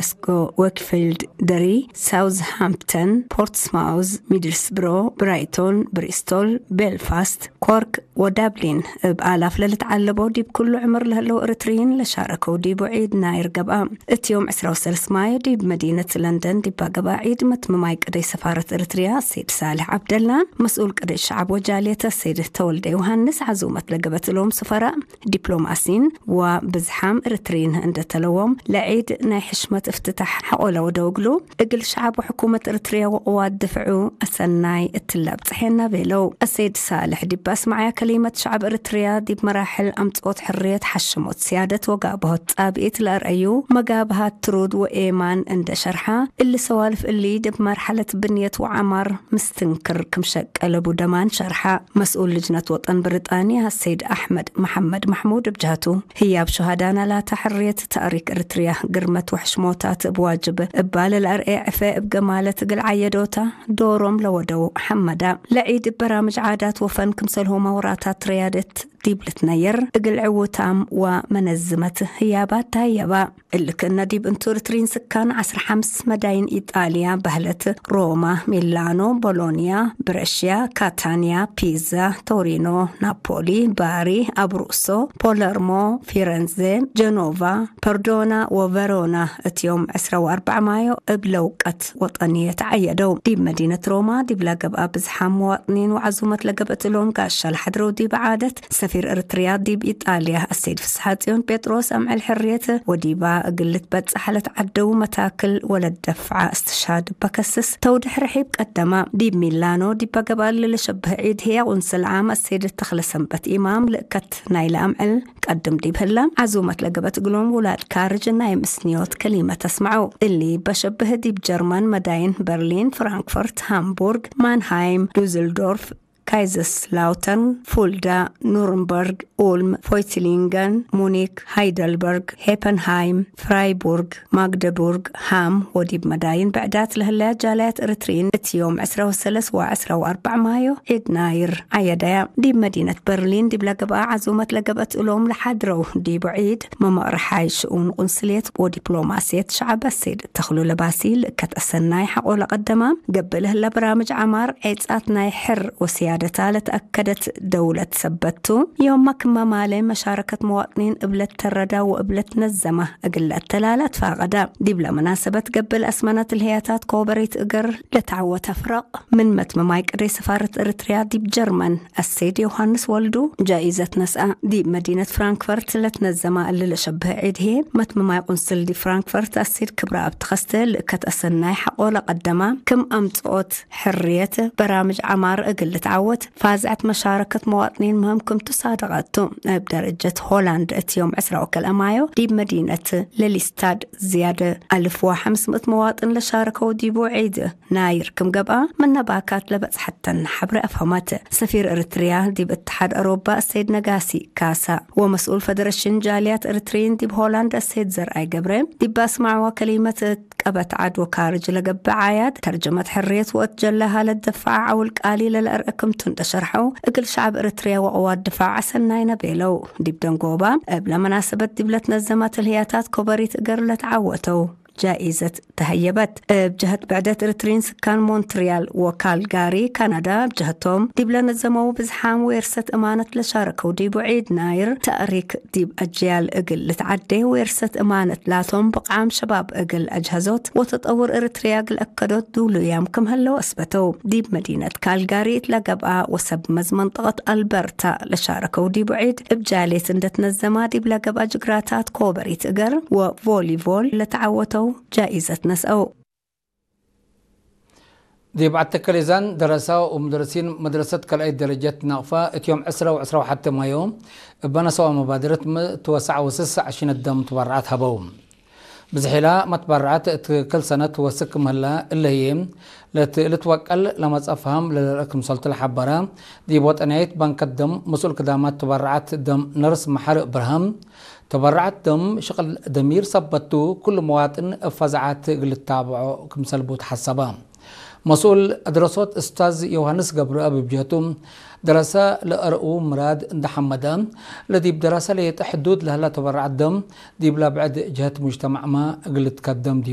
ግላስጎ፣ ዌክፊልድ፣ ደሪ፣ ሳውዝሃምፕተን፣ ፖርትስማውዝ፣ ሚድልስብሮ፣ ብራይቶን፣ ብሪስቶል፣ ቤልፋስት፣ ኮርክ ወዳብሊን እብ ኣላፍ ለልትዓለቦ ዲብ ኩሉ ዕምር ለህለው እርትርይን ለሻረከው ዲቡ ዒድ ናይር ገብኣ። እትዮም ዕስራ ወሰለስ ማዮ ዲብ መዲነት ለንደን ዲባ ገብኣ ዒድ መትምማይ ቅደይ ሰፋረት እርትርያ ሰይድ ሳልሕ ዓብደላን መስኡል ቅደይ ሸዓብ ወጃልየተ ሰይድ ተወልደ ዮሃንስ ዓዙመት ለገበት እሎም ስፈራ ዲፕሎማሲን ወብዝሓም እርትርይን እንደተለዎም ለዒድ ናይ ሕሽመት እፍትታሕ ሓቆለ ወደውግሉ እግል ሸዓብ ወሕኩመት እርትርያ ወቅዋት ድፍዑ ኣሰናይ እትላብ ጽሐና ቤለው። ኣሰይድ ሳልሕ ዲብ ኣስማዕያ ከሊመት ሸዓብ እርትርያ ዲብ መራሕል ኣምጽኦት ሕርየት ሓሽሞት ስያደት ወጋብሆት ጻብኢት ለኣርአዩ መጋብሃት ትሩድ ወኤማን እንደ ሸርሓ እሊ ሰዋልፍ እሊ ድብ መርሓለት ብንየት ወዓማር ምስትንክር ክምሸቀለቡ ደማን ሸርሓ። መስኡል ልጅነት ወጠን ብሪጣንያ ሰይድ ኣሕመድ መሐመድ ማሕሙድ እብ ጀህቱ ህያብ ሸሃዳና ላታ ሕርየት ታሪክ እርትርያ ግርመት ወሕሽሞታት እብ ዋጅብ እባለ ለኣርኤ ዕፈ እብ ገማለት እግል ዓየዶታ ዶሮም ለወደው ሐመዳ። ለዒድ እብ በራምጅ ዓዳት ወፈን ክምሰልሆ ማውራታት ትረያደት ዲብ ልትነየር እግል ዕውታም ወመነዝመት ህያባት ታየባ። እልክነ ዲብ እንቱ እርትሪን ስካን ዓስራ ሓምስ መዳይን ኢጣልያ በህለት ሮማ፣ ሚላኖ፣ ቦሎንያ፣ ብረሽያ፣ ካታንያ፣ ፒዛ፣ ቶሪኖ፣ ናፖሊ፣ ባሪ፣ ኣብሩሶ፣ ፖለርሞ፣ ፊረንዜ፣ ጀኖቫ፣ ፐርዶና ወቨሮና እትዮም ዕስራ ወኣርባዕ ማዮ እብ ለውቀት ወጠንየ ተዓየደው። ዲብ መዲነት ሮማ ዲብ ለገብኣ ብዝሓም መዋጥኒን ወዓዙመት ለገብእትሎም ጋሻ ለሓድረው ዲብ ዓደት ሰፊር እርትርያ ዲብ ኢጣልያ ኣሰይድ ፍስሓጽዮን ጴጥሮስ ኣምዕል ሕርየት ወዲባ እግል ልትበጽሕ ለትዓደው መታክል ወለደፍዓ እስትሻድ በከስስ ተውድሕ ርሒብ ቀደማ። ዲብ ሚላኖ ዲብ ገብኣ ለሸብህ ዒድ ህያ ቁንስል ዓም ኣሰይድ ተኽለ ሰንበት ኢማም ልእከት ናይ ለኣምዕል ቀድም ዲብ ህላ ዓዙመት ለገበት እግሎም ውላድ ካርጅ ናይ ምስንዮት ከሊመት ኣስምዐው። እሊ በሸብህ ዲብ ጀርመን መዳይን በርሊን፣ ፍራንክፈርት፣ ሃምቡርግ፣ ማንሃይም፣ ዱዝልዶርፍ፣ ካይዘስላውተርን፣ ፉልዳ፣ ኑርንበርግ፣ ኡልም፣ ፎይትሊንገን፣ ሙኒክ፣ ሃይደልበርግ፣ ሄፐንሃይም፣ ፍራይቡርግ፣ ማግደቡርግ፣ ሃም ወዲብ መዳይን ብዕዳት ለህለያ ጃላያት እርትሪን እትዮም ዕስራ ወሰለስ ወዕስራ ወኣርባዕ ማዮ ዒድ ናይር ዓየዳያ። ዲብ መዲነት በርሊን ዲብ ለገብኣ ዓዙመት ለገብአት እሎም ለሓድረው ዲቡ ዒድ መመቕርሓይ ሽኡን ቁንስልየት ወዲፕሎማስየት ሸዓብ ኣሰይድ ተኽሉ ለባሲ ልእከት ኣሰናይ ሓቆ ለቐደማ ገብእ ለህለ በራምጅ ዓማር ዔጻት ናይ ሕር ወስያደታ ለተኣከደት ደውለት ሰበቱ ዮማ ክመ ማለ መሻረከት መዋጥኒን እብለት ተረዳ ወእብለት ነዘማ እግል ለአተላላ ትፋቀዳ። ዲብለ መናሰበት ገብእ ለአስመነት ልህያታት ኮበሪት እግር ለተዓወተ ፍረቅ ምን መትመማይ ቅደይ ሰፋረት እርትርያ ዲብ ጀርመን ኣሰይድ ዮሃንስ ወልዱ ጃኢዘት ነስአ። ዲብ መዲነት ፍራንክፈርት ለትነዘማ እሊ ለሸብህ ዒድ ህዬ መትመማይ ቁንስል ዲብ ፍራንክፈርት ኣሰይድ ክብረኣብ ተኸስተ ልእከት ኣሰናይ ሓቆ ለቀደማ ክም ኣምጽኦት ሕርየት በራምጅ ዓማር እግል ልትዓወት ፋዝዐት መሻረከት መዋጥኒን ምህም ክም ትሳደቀቱ። እብ ደረጀት ሆላንድ እት ዮም ዕስራ ወከልአ ማዮ ዲብ መዲነት ለሊስታድ ዝያደ ኣልፍ ወሓምስ ምእት መዋጥን ለሻረከው ዲቡ ዒድ ናይር ክም ገብኣ ምነ ባካት ለበጽሐተን ሐብረ ኣፍሀመት። ሰፊር እርትርያ ዲብ እትሓድ ኣሮባ ኣሰይድ ነጋሲ ካሳ ወመስኡል ፈደረሽን ጃልያት እርትርይን ዲብ ሆላንድ ኣሰይድ ዘርኣይ ገብረ ዲብ ኣስማዕዋ ከሊመት ቀበት ዓድ ወካርጅ ለገብእ ዓያድ ተርጀመት ሕርየት ወእት ጀለ ሃለት ደፋዓ ዓውል ቃሊ ለለአርእ ክምቱ እንደ ሸርሐው እግል ሸዓብ እርትርያ ወቅዋት ድፋዕ ኣሰናይነ ቤለው። ዲብ ደንጎባ እብ ለመናሰበት ዲብ ለትነዘማ ትልህያታት ኮበሪት እገር ለተዓወተው ጃኢዘት ተሀየበት። እብ ጀህት ብዕደት እርትሪን ስካን ሞንትሪያል ወካልጋሪ ካናዳ እብ ጀህቶም ዲብ ለነዘመው ብዝሓም ዌርሰት እማነት ለሻረከው ዲቡ ዒድ ናይር ተእሪክ ዲብ ኣጅያል እግል ልትዓዴ ዌርሰት እማነት ላቶም ብቕዓም ሸባብ እግል ኣጅሀዞት ወተጠውር እርትርያ እግል ኣከዶት ዱሉያም ክም ህለው ኣስበተው። ዲብ መዲነት ካልጋሪ እት ለገብኣ ወሰብ መዝ መንጠቀት ኣልበርታ ለሻረከው ዲቡ ዒድ እብ ጃሌት እንደትነዘማ ዲብ ለገብኣ ጅግራታት ኮበሪት እገር ወቮሊቮል ለተዓወተው ጃኢዘት ነስአው። ዲብ ዓተከሌዛን ደረሳ ወሙደረሲን መድረሰት ካልኣይት ደረጀት ናቕፋ እትዮም ዕስራ ወዕስራ ወሓተ ማዮ እበነሰዋ መባድረት ምትወሳዕ ወስሳዕ ሽነት ደም ትበርዓት ሃበው። ብዝሒላ መትበርዓት እት ክል ሰነት ወስክ ምህላ እለህዬ ለትእልት ወቀል ለመጸፍሃም ለለርእ ክምሰልቱ ለሓበረ ዲብ ወጠንያይት ባንከት ደም መስኡል ክዳማት ትበርዓት ደም ነርስ መሓሪ እብርሃም ተበራዓት ደም ሽቕል ደሚር ሰበቱ ኩሉ መዋጥን እብ ፈዛዓት እግል ልታብዖ ክምሰልቡ ተሓሰበ። መስኡል ኣድረሶት እስታዝ ዮሃንስ ገብረኣብ እብ ጀህቱ ደረሰ ለእርኡ ምራድ እንደ ሐመደ ለዲብ ደረሰ ለየጠ ሕዱድ ለህላ ተበራዓት ደም ዲብ ለብዕድ ጀህት ሙጅተማዕማ እግል ልትከደም ዲቡ